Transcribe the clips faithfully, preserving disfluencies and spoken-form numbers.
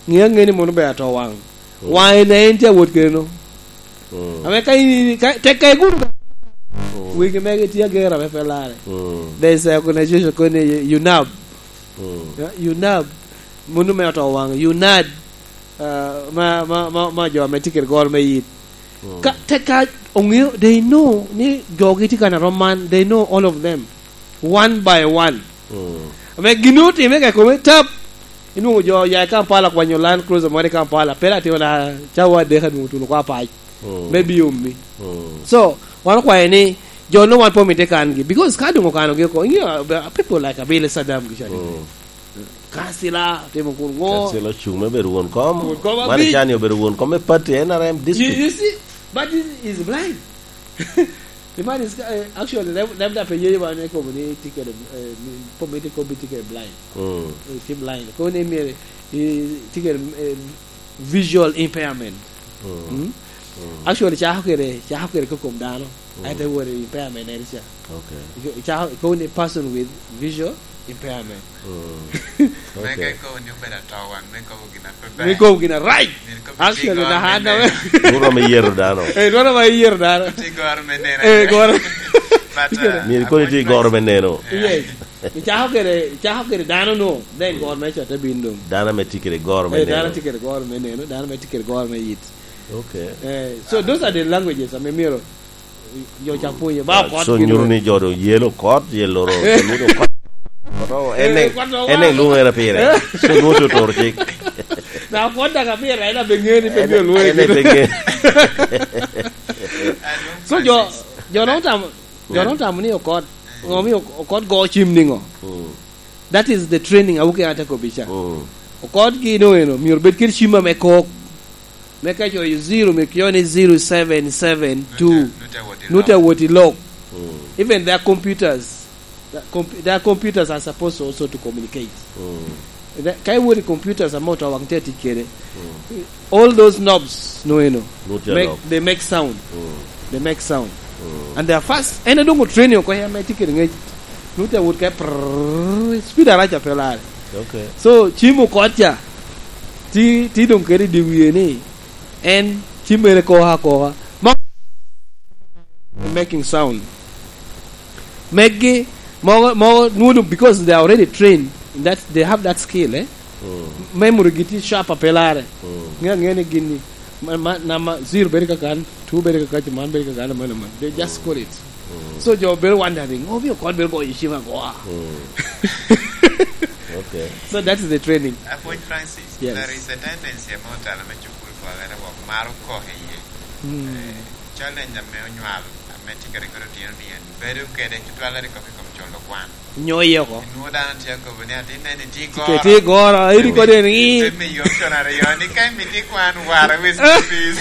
Ŋe aŋe ni mono ber ato waŋ. Mm. Waŋe na en tye awot keno. Mm. Ame ka in, ka, tek ka igudo. Mm. Wegi mege tye agera me pelare. Mm. There's a organization called U N A B. Mm. Yeah, U N A B. Mono me oto waŋ. U N A D. Uh, ma, ma, ma, ma jo ame tye kede goro me yit. Mm. Ka, tek ka oŋeo, they know ni jogi tye kan arom man. They know all of them. One by one. Mm. Ame gin otime ka kome tap. Inwoŋo jo oya i Kampala kwanyo Land Cruiser moro i Kampala, pe latino na cawa adek anwoŋo otuno oko apac. Mm. Me bi omi. Mm. So, wan okwayo ni, jo no wan pe omito kangi, because ka doŋ okanogi oko, ingeyo, uh, people like Abele Saddam gi cani. Mm. Kansila, timo kun ŋo? Kansila ocuŋ me bedo won kom. Won kom. Mani abic. Cani obedo won kom me party N R M district. You, you see, but this is blind. The man is, uh, actually, leb-, lebda pe ye ba ne kobo ni tye kede, uh, ni kobo ni tye kede blind. Mm. Eh, tye blind. Kobo ni myero, eh, tye kede, eh, visual impairment. Mm. Mm? Mm. Actually, cako kede, cako kede kokom dano. Mm. Ate wot i impairment en ca. Okay. Cako, kobo ni person with visual impairment. Mm. Me ka ikobo ni obedo ato waŋ, me kobo gin a pe ber. Me kobo gin a right. Myero ikobo ni actually, goro na me an neno. Dworo me yero dano. Eh, dworo me yero dano. Ti goro me neno. Eh, goro. But, uh, myero koni ti goro me neno. Yes. Icako kede, icako kede dano no, then goro me cotte bin dong. Dano me ti kede goro me neno. Eh, dano ti kede goro me neno, dano me ti kede goro me yit. Okay. Eh, so those are the languages ame myero jo ca pwonye. Ba, ah, okot so gin nyuto ni jo do yelo okot, yelo ro, eh, lwongo okot. Okot, oh, eh, en en, okot, en en lwongo era pire. Eh? So nwoŋo to toro cik. Na okot daga pire, en abe ŋe ni pe en, bino lwongo en en gin. Pe ŋe. So jo, jo no tam, jo no tam ni okot, ŋo mi ok-, okot go cim niŋo? Mm. That is the training a wuke ate kobi ca. Mm. Okot gi no eno, myero bed kede cim ame kok. Me ka coyo zero, me kyo ni zero seven seven two. Nute, nute awot i lok. Nute awot i lok. Mm. Even their computers, the comp-, their computers are supposed also to communicate. Mm. The, ka iwot i computers ame oto waŋ tye tic kede, mm, all those knobs no eno, nute make, they make sound. Mm. They make sound. Mm. And they are fast. En adongo training oko ya me tye kede ŋec. Nute awot ka prrrr, speed arac a pe lare. Okay. So, cim okot ca, ti, ti doŋ kede i dye wie ni, en ci mere koko akoka. Ma making sound. Meggi, mogo, mogo, nwodo, because they are already trained in that, they have that skill, eh? Mm. Memory gi tye sharp a pe lare. Mm. Ŋe aŋe ni gin ni, ma, ma, nama zero bedo kakan, two bedo kakaca, man bedo kakan, man, man. They just call it. Mm. So, jo bedo wondering, "Oh, mi okot bedo goyo cim agoa." Mm. Okay. So, that is the training. Apwony Francis, yes, there is a tendency ame otelo me cukul pwalere wok maro kok iye. Mm. Eh, challenge ame onywal, ame tye ka rikot otino ni en bedo kede tutwal a rik kok i kom colo kwan. Nyo iye oko. Inwoŋo dano tye akobo ni, "Atin nen itye goro." Itye goro, iri kodi ni. Pe miyo option aryo ni, "Ka imito ikwan, wara with fees."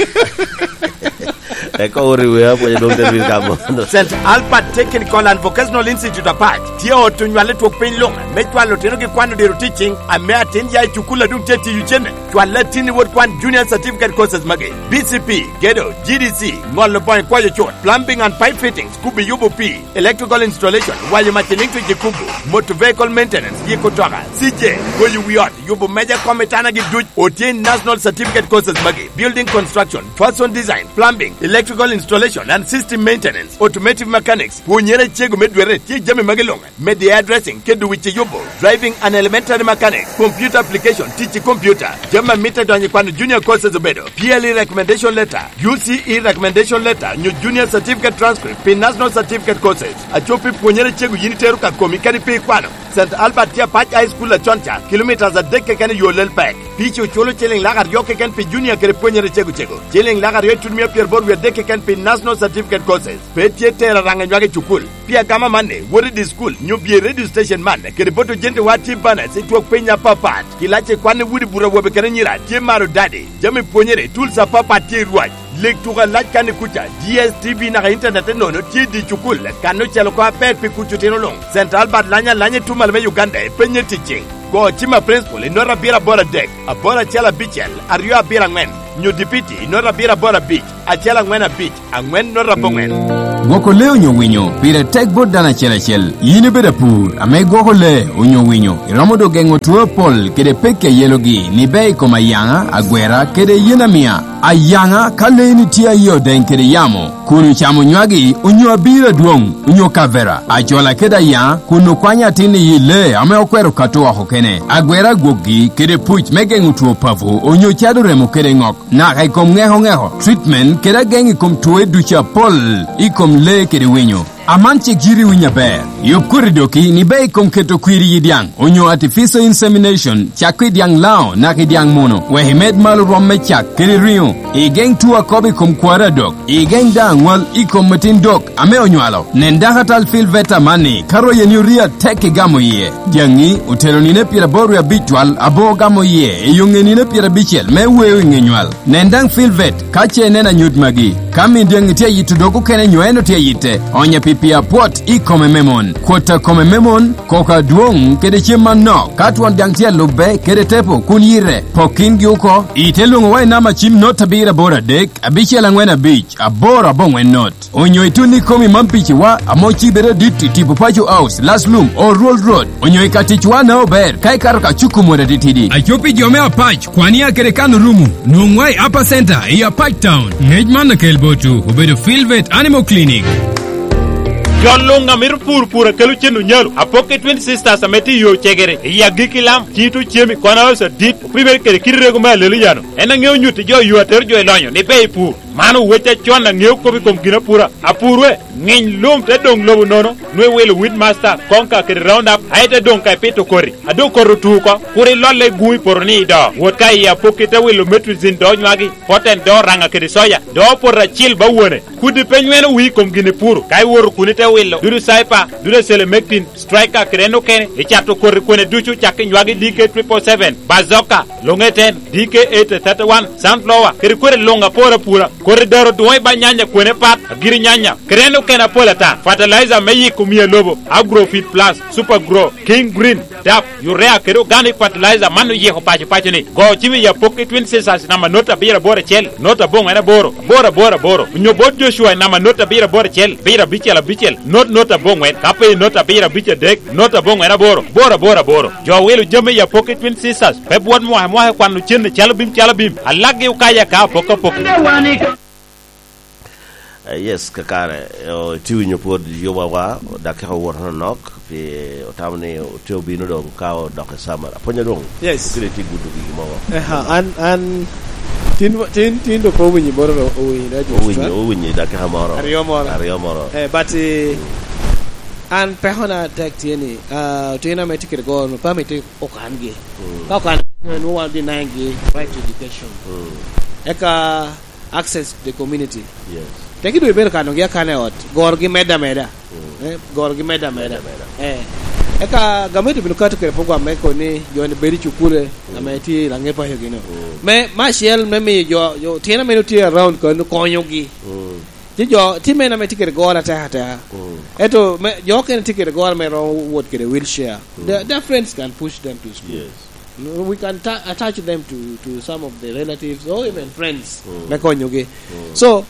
Eko ori we apwony dong te wil ka mono. Saint Albert Technical and Vocational Institute Apac tye ot onywale twok piny luŋ me cwalo otino gi kwano diro teaching, ame atin ya i cukul a dong tye tiyo cene. Cwal latin i wot kwan junior certificate courses magi: B C P, gedo, G D C, ŋolo boŋo kwayo cut, plumbing and pipe fittings, kubi yubo pii, electrical installation, wanyo mac electric i kubo, motor vehicle maintenance, yiko toka, C J, goyo wi ot, yubo meja kom i tana gi duc. Otye i national certificate courses magi: building construction, fashion design, plumbing, electrical installation and system maintenance, automotive mechanics. Pwonyere cego me dwere tye jami magi luŋ: media addressing, kedo wic i yubo, driving and elementary mechanics, computer application, tic i computer, jami a mitte donyo i kwano junior courses obedo P L E recommendation letter, U C E recommendation letter, nyo junior certificate transcript pi national certificate courses. Aco pi pwonyere cego yin itero ka komi kadi pe ikwano. Saint Albert tye Apac High School acon ca, kilometres adek keken i yo Lelpek. Pici oculo ciliŋ lak aryo keken pi junior kede pwonyere cego cego, ciliŋ lak aryo itutumia pyeraboro wie adek keken pi national certificate courses. Pe tye tero araŋa nywak i cukul. Pi agama amanni, wot i di cukul, nyo bye i radio station man, kede bot ojentewa tye banas i twok piny apapat. Kilac i kwan i udi buto awobe kede anyira tye maro dadi. Jami pwonyere, tools apapat tye i rwac. Leg tuko alac kan i kuca, D S T V naka internet enono tye i di cukul, kan ocel oko aber pi kuc otino luŋ. Saint Albert lanyo alanya i tumal me Uganda i penye ticing. Go cim a principal i nota abiro aboro adek, aboro acel abicel, aryo abiro aŋwen, nyo dipiti i nota abiro aboro abic, acel aŋwen abic, aŋwen nota aboŋwen. Gwoko lee onyo winyo pire tek bot dano acel acel. Yin ibedo apur ame igwoko lee onyo winyo, iromo dok geŋo two apol kede pekki a yelogi ni bea i kom ayaŋa, agwera, kede yen amia. Ayaŋa, ka leeni tye a yie odeŋ kede yamo, kun ocamo nywagi onyo abiro adwoŋ onyo kavera, acola kede ayaŋa, kun okwanyo atin i yi lee ame okwero kato oko kene, agwera agwokgi kede puc me geŋo two papo onyo cado remo kede ŋok. Naka i kom ŋeko ŋeko, treatment, kede ageŋ i kom twoe ducu apol i kom lee kede winyo. Aman cik yiti winyo aber. Yub koti doki ni bea i kom keto kwir i yi dyaŋ, onyo artificial insemination, cakko i dyaŋ Lango naka i dyaŋ Muno, wek imed malo rwom me cak kede riŋo. Igeŋ two akobo i kom kwaro adok. Igeŋ daŋ aŋwal i kom atin dok ame onywalo. Nen dakatal Phil Veta amanni, ka royeni orio atek igamo iye. Dyaŋi otelo nino pyeraboro wie abic twal aboŋo gamo iye i yo ŋe nino pyerabicel me weo i ŋe nywal. Nen daŋ Filvet ka ce ineno anyut magi. Ka min dyaŋi tye ayito dog okene nyo en otye ayitte, onye pi pii apwot i kome me mon, kwot a kome me mon, koko adwoŋ kede cem anok. Ka twon dyaŋ tye alubbe kede tepo kun yite, pok kingi oko, ite lwoŋowa i namba cim not abiro aboro adek, abicel aŋwen abic, aboro aboŋwen not. Onyo itun ikomi man piciwa ame ocibere adit i tipo Paco House, Laslum, Oruol Road, onyo i ka ticwa na ober ka ikato ka cuko mot atitidi. Aco pi jo me Apac, kwania kede kan orumo, nwoŋwa i Upper Center i Apac Town. Ngec man okel botwu obedo Filvet Animal Clinic. Jo luŋ a mito pur pur a kelo cen onyalo, apok i Twin Sisters ame tye i yo cegere, i agikki lam, cito cemi, kwana oso adit, opimere kede kite rego me alelo yano. En aŋeo nyutti jo yo atero jo i lonyo ni ber i pur. Man owec acon aŋeo kop i kom ginapura. Apurwe, ŋiny lum te doŋ lobo nono, nwe wilo Weedmaster, Konka kede Roundup, aye te doŋ ka ipito koti. A doŋ koti otu oko, kur ilolle i guŋ i poto ni ido. Wot ka i apokki te wilo Metrizin do nywagi, Poten do Raŋa kede Soya, do Poto Acil ba wone. Kudi pe nyweno wii i kom gin ipuro, ka iwoto kun ite wilo Dudu Cyper, Dudu Selemectin, Striker kede en okene, icato koti kwene ducu cak i nywagi D K triple seven, Bazooka, Longeten, D K eight thirty-one, Sunflower, kede kwene luŋ apor apura. Koti daro dwoŋ i ba nyanya kwene pat, agiri nyanya, kede en okene apol ata. Fertilizer me yiko mia lobo, Agrofit Plus, Super Grow, King Green, DAP, Urea kede Organic Fertilizer man oyiko paco paco ni. Go cim i apokki Twin Sisters namba not abiro aboro acel, not aboŋwen aboro, aboro aboro aboro. Onyo bot Joshua i namba not abiro aboro acel, abiro abicel abicel, not not aboŋwen. Ka pe i not abiro abic adek, not aboŋwen aboro, aboro aboro aboro. Jo wilo jami i apokki Twin Sisters, pe bwot mwaka mwaka i kwano cen i calo bim calo bim. Alakgi okaya ka apok apok. Eh, yes, kakare, eh, o-, itye winyo pwod yobawa, dakika owoto nonok, pi otamo ni otye obino doŋ ka odok i summer. Apwony adwoŋ. Yes. Okelo itye gudo gigi mogo. Eha, an, an, tin, tin, tin dok owinyo boro ro-, owinyo, da, just, owinyo, eh? Owinyo dakika moro. Aryo moro. Aryo moro. Eh, but, eh, an pekona tek tye ni, ah, otino ame tye kede goro, pe amito okangi. Mm. Ka okan, nwoŋo wan denying-gi right to education. Mm. Eka access to the community. Yes. Teki dwe bedo kanogi akana i ot, gorogi medde ameda. Mm. Eh, gorogi medde ameda. Medde ameda. Eh. Eka gamente obino kato kede program me koni jo ni bedo i cukule, mm, ame tye i laŋe paco gino. Mm. Me, me acel me miyo jo, jo tyen ame tye around kano konyogi. Mm. Ci jo, tye men ame tye kede goro atek ateka. Mm. Ento me, jo okene tye kede goro me romo wot kede wheelchair. Mm. Their, their friends can push them to school. Yes. No, we can ta-, attach them to, to some of the relatives or even friends, mm, me konyogi. Mm. So,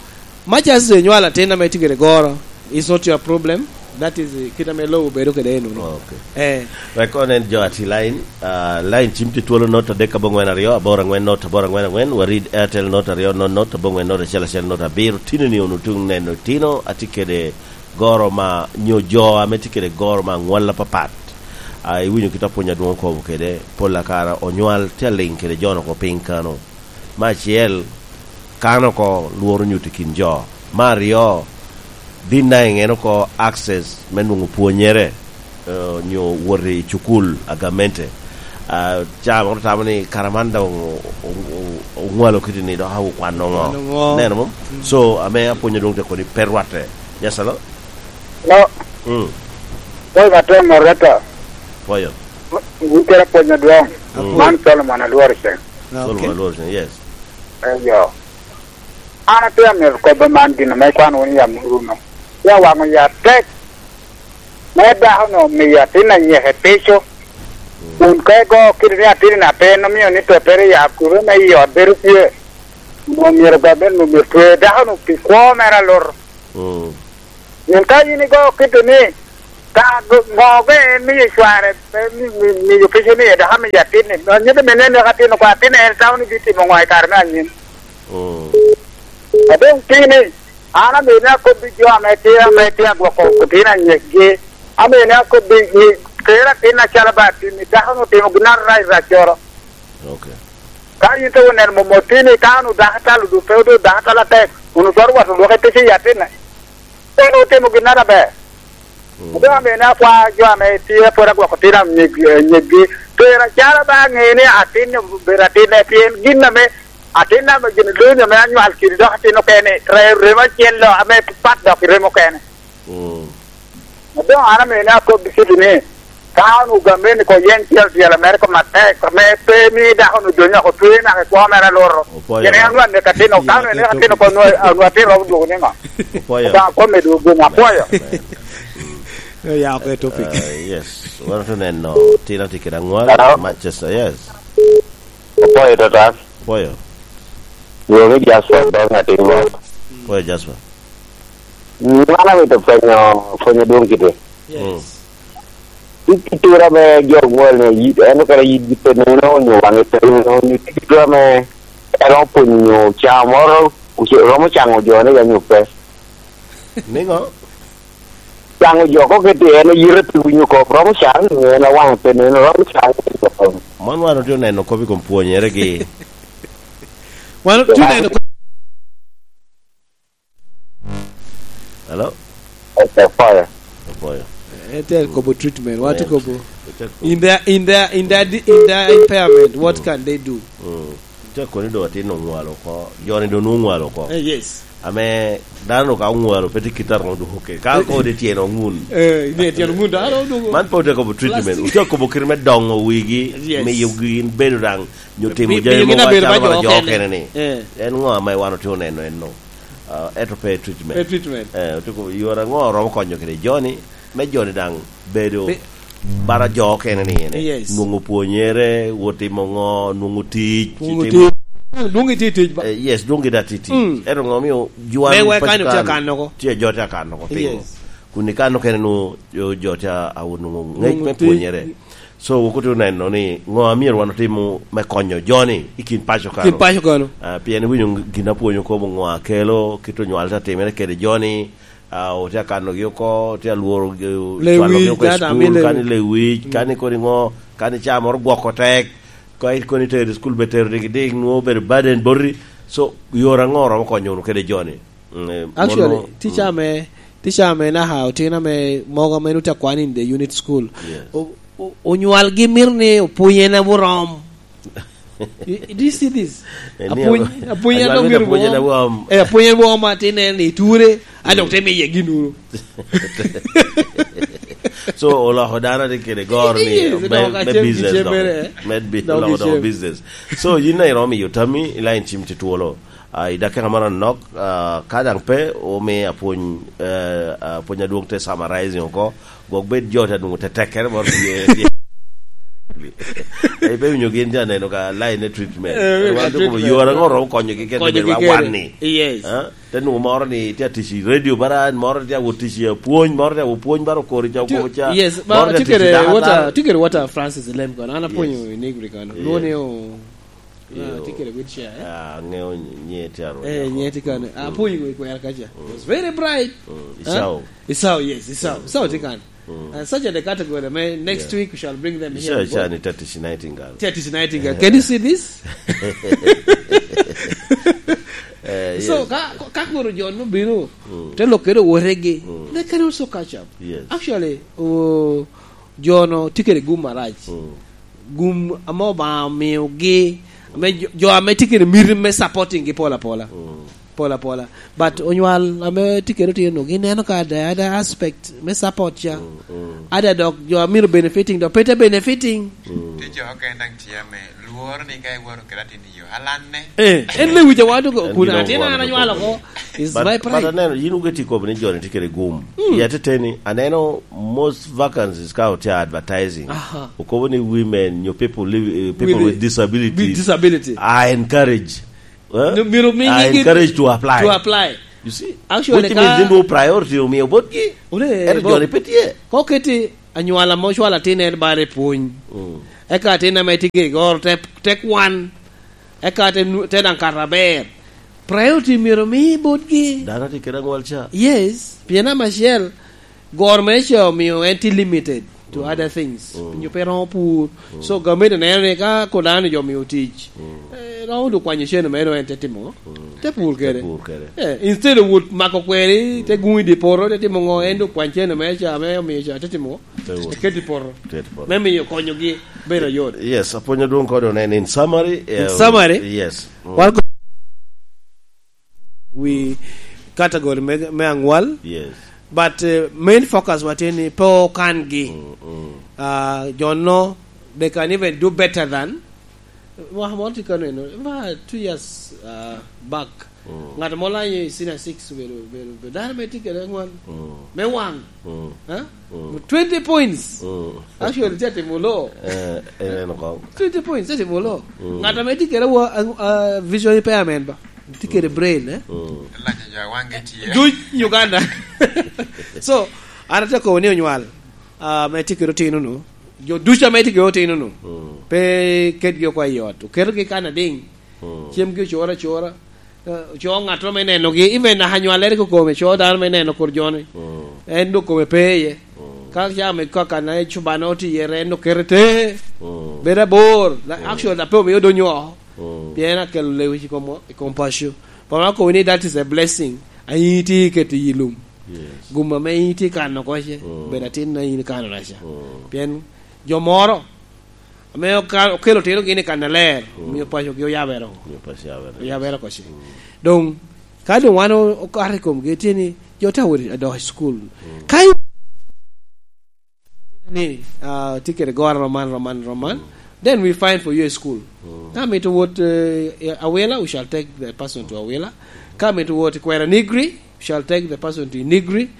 much as inywalo atin ame tye kede goro, it's not your problem. That is, eh, kit ame lobo bedo kede eno. Okay. Eh. Wek onen jo ati line, ah, line cim tye twolo not adek aboŋwen aryo, aboro aŋwen not aboro aŋwen aŋwen, warid Airtel not aryo not not, aboŋwen not acel acel not abiro. Tino ni onwoŋo tuŋ neno tino, atye kede goro ma, nyo jo ame tye kede goro ma aŋwal apapat. Ah, iwinyo kit apwony adwoŋ okobo kede, pol akara onywal tye aliŋ kede jo-nu oko piny kano. Me acel, kano oko lworo nyuto i kin jo. Me aryo, denying en oko access me nwoŋo pwonyere, eh, nyo wot i cukul a gamente. Ah, ca moro tamo ni kara man dok o-, o-, o-, oŋwalo kiti ni dok awu kwano ŋo? Kwano ŋo? Neno mo? Mm. So, ame apwonyo dwong te koni pe rwatte. Yes, hello? Hello? Mm. Boy, Matem Moreta. Boyo. Wun kede apwonyo dwong. Mm. Man Solomon Alwor Ceng. Ah, okay. Solomon Alwor Ceng, yes. Eyo. An atye amito kobbe man gin ame ikwano wunu i amuru-nu. Ya waŋo ya tek. Me dako-nu omiyo atin anyeke pico. Kun ka igo kite ni atin-ni atin omio ni tottere ya kube me i ot bedo tye. Omyero gamente omyero twe dako-nu pi kwo mere alur. Mm. Pien ka in igo kite ni, ka go-, ŋo be en mio cware, eh, mi-, mi-, mio pico ni, dok amiyo atin-ni, no, nyuto bene ni atin oko, atin en tamo ni bitimo ŋo i kare me anyim. Mm. A doŋ tye ni, an amio ni akobbi jo ame tye, ame tye agwoko otino anyekgi, amio ni akobbi ni, ter atin acalo ba atin-ni, dako-nu otimo gin arac raccoro. Ok. Ka in te oneno mom otini, ka an odako talo, dok pe odoko dako talo atek, kun otwero wot olwoke pico i atinne, en otimo ginnoro aber. Mm. Obedo ame ni akwa jo ame tye pwod agwoko tin anyeg-, anyeggi, pera calo ba aŋe ni atin obedo atinne, pien gin ame atin ame gin lonyo ame anywal kede dok atin okene, re-, remo acel lo ame pat dok i remo okene. Mm. Doŋ an amene akobbi kiti ni, ka an ogameni ko yen tyel tyel Amerika matek, ame pe mi dako-nu donyo oko twe naka i kwo mere aluto. Opoyo. Gin en wan nek atino, ka wan nek atino ko nwa, nwa atino romo dwogo niŋo? Opoyo. Obaŋa kome dwogo gum, apoyo. Amen. Oya oko i topic. Uh, yes. Wan otu neno, tino tye kede aŋwal, Hello? Manchester, yes. Opoyo, Totas. Opoyo. Dwogo i Jasper, dok atin mot. Opoyo, Jasper. Wan amito pwenyo, pwenyo dwon kite. Yes. Mm. I, i tura me jo gwol ni, yi-, en okene yitgi pe neno, onyo wange pe neno, onyo i tura me, en opwonyo onyo ca moro, oce-, romo caŋo jo ni ya nyo pe. Niŋo? Caŋo jo ko kete en yite pe winyo kop, romo caŋo ni en a wange pe neno, romo caŋo ni en. Man wan otye oneno kop i kom pwonyere gi. Wan otye oneno Hello? Apoyo. Apoyo. Ete kobo treatment, watu kobo. Ete kobo. In the, in the, in the, in the impairment, what can they do? Mm. Te koni do atin oŋwalo oko. Joni do nwoŋo oŋwalo oko. Eh, yes. Ame dano ka oŋwalo, pe tye kit a romo dwogo kede. Ka ko de tyen oŋun. Eh, ne tyen oŋun, dano dwogo. Man pe otye kobo treatment. Plastic. Otye kobo kit me doŋo wigi, yes, miyo gin bedo daŋ, nyo timo mi-, jami miyo gin mogo abedo acalo ba jo jo okene. Okene ni. Eh. En ŋo ame wan otye oneno en no? Ah, ento pe treatment. Pe treatment. Eh, otyeko yore aŋo oromo konyo kede joni, me joni daŋ bedo bara jo okene ni ene. Yes. Nwoŋo pwonyere, wot timo ŋo, nwoŋo tic, nwoŋo timo tic. Dwoŋ itye tic ba? Eh, yes, dwoŋ gitye tic. Mm. Ento ŋo omio jwan me wek paco kan otye kan akanno oko. Tye jo tye akanno oko, pingo? Yes. Kun i kan okene nwoŋo jo, jo tye a-, awot nwoŋo ŋec me pwonyere. So, wok otye oneno ni ŋo a myero wan otim me konyo joni i kin paco kano. Kin paco kano. Ah, pien iwinyo gin apwonyo kobo ŋo a kelo, kit onywal te timere kede joni, ah, otye akanogi oko, otye alworo, eh, cwalogi oko i cukul, kani lewic, mm, kani kodi ŋo, kani ca moro gwoko tek, ka koni tero i cukul be tero digidig, nwoŋo obedo burden boti. So, yore aŋo oromo konyo wunu kede joni? Mm, eh, actually, mono, tica mm. me, tica me naka otino ame mogo ame nut akwan in the unit school. Yes. O-, o-, onywalgi mito ni opwony en aburom. You, do you see this? Eh, ni apwony, abo-, apwony en anywal dok mito myero pwony en burom. Aburom. Eh, apwony en burom atin en i ture, a dok te miye gin uru. So, oloko dano tye kede goro ni yes, me, dok me acem business gicem dok. Mere, eh. Med bi-, dok oloko dok gicem. Business. So, yin na iromo miyo tammi, i line cim tye twolo. Ah, i dakika moro anok, ah, ka daŋ pe, omi apwony, eh, apwony adwoŋ te summarizing oko, gwok bed jo te nwoŋo tetekkere moro tye, tye. Ai, pe winyo gin te aneno ka line ne treatment. Eh, wan treatment. Yore aŋo romo konyogi kene konyogi bed wa kene. Wan ni? Yes. Ah, te nwoŋo moro ni tye atic i radio bara, moro tye awot tic i apwony, moro tye awot pwony bara okori ca, okori ca, yes, moro tye atic i daka. Tye kede what a, tye kede what a Francis Lem kono, an apwonyo i Negri kono. Yes. Lwongo ni o- Ah, tye kede wheelchair, eh? Ah, aŋeo nyi-, nyiŋe tye arweny oko. Eh, nyiŋe tye kano. Mm. Apwonyo i kwero kaca. Mm. He was very bright. Mm. Huh? Isao. Isao, yes, Isao. Mm. Isao tye kano. Mm. Uh, such are the category, man. Next week we shall bring them here. Isao, Isao ni tye atic i Nightingale. Tye atic i Nightingale. Can you see this? Eh, so, yes. Ka, ka koro jo no bino, mm, te lok kede owotegi, mm, they can also catch up. Yes. Actually, oh, jo no tye kede gum arac. Mm. Gum ame Obaŋa omiogi, ame jo, jo ame tye kede miti me supporting gi pol apola. Mm. Pol apola. But onywal ame tye kede otino, gineno ka the other aspect me support ca. Mm, mm. Other dok jo a mito benefiting, dok pe te benefiting. Mm. Tye jo okene daŋ tye ame lworo ni ka iworo kede atin i yo, alanne. Eh, en lewic awa dok. En kun gin atin an anywalo oko. Is but, my pride. But aneno, yin wuke tye kobo ni joni tye kede gum. Mm. I ateteni, aneno most vacancies ka otye advertising. Aha. Okobo ni women, nyo people live, eh, people with, with disabilities with disability are encouraged. Eh? No, myero mi are encouraged to apply. To apply. You see? Actually, which means ka ni nwoŋo priority omio botgi. Ento joni pe tye. Ka oketi anywala mo cwalo atin en bare pwony. Mm. Eka atin ame tye gigoro te, te kwan. Eka te nu-, te daŋ kato aber. Priority myero omi botgi. Dano tye kede anywal ca. Yes. Pien namba acel, goro me ca omio en tye limited to other things. Mm. Onyo pe romo pur. Mm. So, gamente neno ni ka ko dano jo omio tic, mm, eh, romo dok kwanyo cen omeno en te timo ŋo? Mm. Te pur kede. Te pur kede. Eh, instead of wot mako kweri, te guŋ i dye poto, te timo ŋo? En dok kwany cen omeno ca, ame omio ca, te timo ŋo? Te wot. Te ket i poto. Ket i poto. Me miyo konyogi bedo yot. Yes, apwonyo dwong kodo nen in summary. In eh, summary? Yes. Mm. Wan ko- wi category me, me aŋwal. Yes. But, eh, main focus wa tye ni pe okangi. Mm, mm. Ah, jo no, they can even do better than. Wa, mo tye kano eno, about two years, ah, back. Mm. Ŋat mo lanyo i senior six obedo, obedo, obedo dano me tye kede aŋwal. Mm. Me waŋ. Mm. Ha? Mm. Twenty points. Mm. Actually, tye atimo lo. Eh, eh, en oko. Twenty points, tye atimo lo. Mm. Ŋat ame tye kede wa-, a, a, vision impairment ba? Tye kede brain, eh? Mm. Lanyo jo a waŋgi tye. Duc Uganda. So, an atye kobo ni onywal, ah, ame tye kede otino-nu, jo ducu ame tye kede otino-nu, mm, pe ketgi oko i ot. Oketogi kan adiŋ. Mm. Cemgi ocoro acora. Eh, co ŋattoro me nenogi, even naka nywallere kokome, co dano me neno kur joni. Mm. En dok kome pe iye. Mm. Ka ca me kaka na ecubane otye iye, en dok kete te. Mm. Bedo abor. La-, mm, actually, la pe omio donyo oko. Mm. Pien en akelo lewic i kom, i kom paco. Pama kobo ni that is a blessing. A in itye iketo i lum. Yes. Gum ame in itye kano oko ce, mm, bedo atin na in ikano raca. Mm. Pien jo moro, ame oka-, okelo otinogi ni kan aler, mm, omio pacogi oyabere oko. Omio paco oyabere. Oyabere oko ce. Mm. Doŋ, ka doŋ wan o-, okato i komgi, tye ni, jo te awot adok i cukul. Mm. Ka i-, ni, ah, tye kede goro roman, roman, roman, mm, then we find for you a school. Mm. Ka mito wot, eh, Awila, we shall take the person to Awila. Ka mito wot i Kwera Nigri, shall take the person to Inigri. Mm.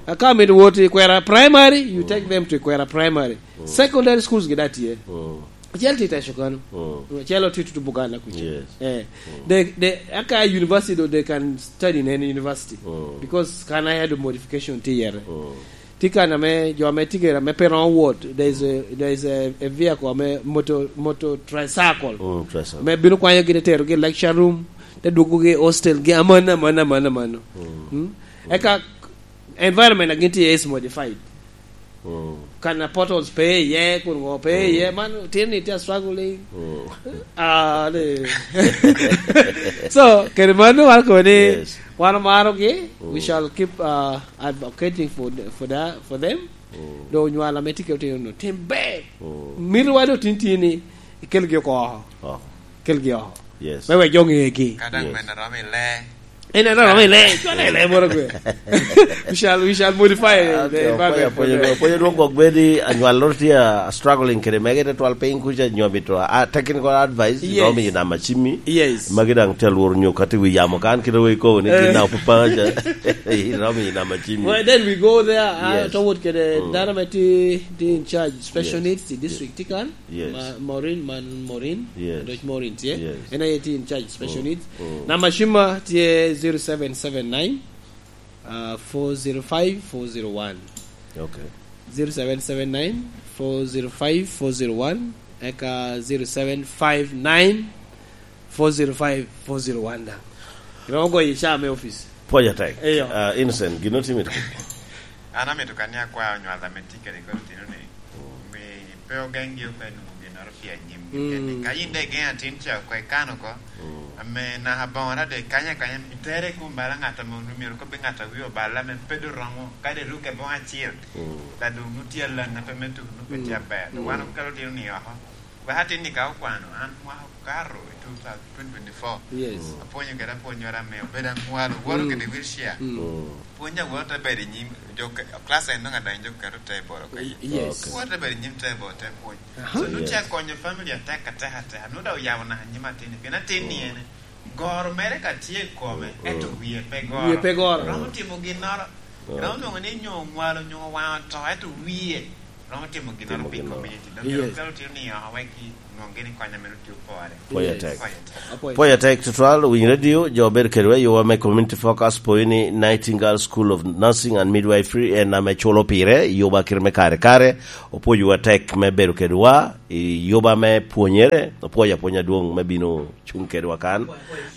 A ka mito wot i Kwera Primary, you, mm, take them to Kwera Primary. Mm. Secondary schools gi da tye. Mm. Acel tye i Teso kano. Mm. Acel tye tutu Buganda kuca. Yes. Eh. Mm. They, they, aka university do, they can study in any university. Mm. Because kan I had a modification tye yere. Mm. Tye kan ame jo ame tye kede ame pe romo wot, there is a, there is a, a vehicle ame motor, motor tricycle. Mm, tricycle. Ame bino kwanyogi te terogi i lecture room, te dwogogi i hostel gi, aman, aman, aman, aman. Mm. Mm? Eka environment a gin tye iye is modified. Mm. Kan a potholes pe iye, kun ŋo pe iye, mm, man tin ni tye struggling. Mm. Ah, ni. So, kede mano wan kobo ni, yes, wan omarogi, we, mm, shall keep, uh, advocating for the, for the, for them. Mm. Doŋ onywal ame tye kede otino-nu, tim ber. Mm. Mito wa doŋ tin tye ni, ikelgi oko oko. Oko. Kelgi oko. Yes. Me wek jo ŋegi. Ka daŋ, yes, men a romo i lee. En a romo i lee. Cwale i lee moro gwe. We shall, we shall modify, ah, the, okay, environment for them. Apwoyo, apwoyo, apwoyo dwong gwok bedi, anywal loro tye a, a struggling kede mege te twal piny kuca nyo mito, ah, technical advice, yes, romo i nama cimmi. Yes. Magi daŋ te lworo nyo kati wi yamo kan kite we ikobo ni, eh, gin na opapa ca. Romo i nama cimmi. Well, then we go there, ah, yes, toward kede, mm, dano me ti, ti in charge special, yes, needs, the district, yes, ti kan. Yes. Ma-, Maureen, man Maureen. Yes. Dok Maureen tye. Yes. En aye tye in charge special, mm, needs. Mm. Namba cimma tye zero seven seven nine, uh, four zero five, four zero one. Okay. Zero seven seven nine, four zero five, four zero one, eka zero seven five nine, four zero five, four zero one daŋ. Iromo goyo i caa me office. Pwoc atek. Eyo. Ah, Innocent, gin otimi to? An amito kan ni akwa onywal ame tye kede kodi otino ni, mm, mi pe ogeŋgi oko i nwoŋo ginnoro pi anyimgi, mm, keni. Ka in daŋ igeŋo atin ca oko, ikano oko, mm, ame naka boŋo adada ikanya akanya, itere i kom bala ŋat ame onwoŋo myero kobbi ŋat a wie oballa ame pe doŋ romo, kadi iruke boŋo acel, mm, la doŋ nwoŋo tye alaŋ ŋat ame tuko nwoŋo pe tye, mm, aber. Wan, mm, okelo otino ni oko. Wek atin ni ka okwano, an mwaka okato i two thousand, twenty twenty-four. Yes. Mm. Apwonyo kede apwonnyoro ame obedo aŋwalo, woto, mm, kede wheelchair. Mm. Mm. Pwony awot te bedo i nyim, jo ke-, class en nongo adonyo jo keto table oko iye. Yes. Okay. Wot te bedo i nyim table te pwony. Aha. So, nongo, yes, tye akonyo family atek, atek, atek. Nongo daŋ oyabo naka nyim atin-ni. Pien atin-ni, mm, ene, goro mere ka tye i kome, mm, ento wie pe goro. Wie pe goro. Romo timo ginnoro. Mm. Romo nwoŋo ni nyo oŋwalo, nyo owaŋo to, ento wie romo timo ginnoro pi community. Timo ginnoro. Dok myero, yes, okelo otino ni oko wek ki Pwoyo atek. Pwoyo atek tutwal, winy radio, jo bedo kedwa i yowa me community focus, pwoyo ni Nightingale School of Nursing and Midwifery en ame culo pire, i yoba kite me kare kare, opwoyowa tek me bedo kedwa, i yoba me pwonyere, opwoyo apwonya dwong me bino cung kedwa kan,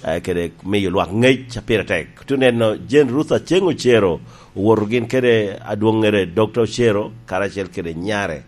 eh, kede miyo lwak ngec a pire tek. Tuneno, Jane Ruth Aceng Ocero, owoto gin kede adwoŋŋere Doctor Ocero, karacel kede nyare,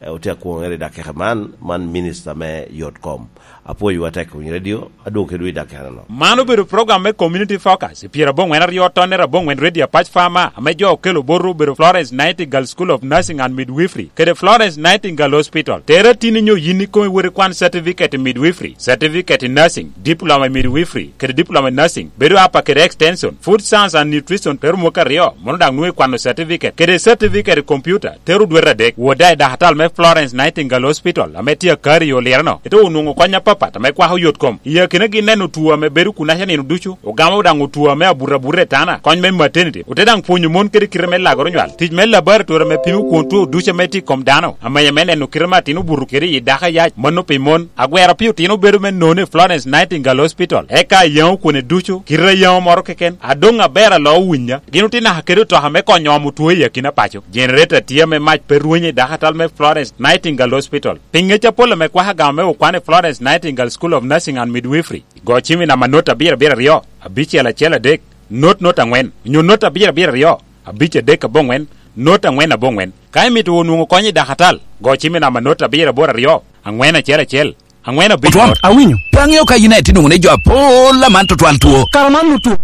eh, otye akwoŋere i dakika man, man minista me yot kom. Apwoyowa tek winy radio, adwogo kedwu i dakika no. Man obedo program me Community Focus, i pyera aboŋwen aryo tonnere aboŋwen radio Apac Farmer, ame jo okelo boto obedo Florence Nightingale School of Nursing and Midwifery, kede Florence Nightingale Hospital. Tere tin inyo yin ikomi wot ikwan certificate i midwifery, certificate i nursing, diploma i midwifery, kede diploma i nursing, bedo apa kede extension, food science and nutrition, tero mwaka aryo, mono daŋ nwoŋo ikwano certificate, kede certificate i computer, tero dwete adek. Wot daŋ i dakatal me Florence Nightingale Hospital, ame tye akari i Olireno, ite onwoŋo kony apapat ame kwako yot kom. I akinagi neno two ame bedo kunaca nino ducu, ogamo daŋ two ame abuto abuta i tana, kony me maternity, ote daŋ pwonyo mon kede kite me lagoro nywal, tic me laboratory ame pimo kwon two ducu ame tye i kom dano, amenya me neno kite me atin obuto kede i dako ayac, mano pi mon. Agwero pi otino bedo me none i Florence Nightingale Hospital, eka ayaŋo kwone ducu, kite ayaŋo moro keken, adoŋ aber alo owinya. Gin otye naka kede otoka me konyo omo two i akina paco. Generator tye ame mac pe rwenyo i dakatal me Florence Nightingale Hospital. Pi ŋec apol ame kwako agama me okwan i Florence Nightingale School of Nursing and Midwifery, go cim i namba not abiro abiro aryo, abicel acel adek, not not aŋwen, onyo not abiro abiro aryo, abic adek aboŋwen, not aŋwen aboŋwen. Ka imito wot nwoŋo kony i dakatal, go cim i namba not abiro aboro aryo, aŋwen acel acel, aŋwen abic Otwom, not. Awinyo. Pe aŋeo ka yin aye tye nwoŋo ni jo apol aman tutwal two. Kara man onwoŋo two.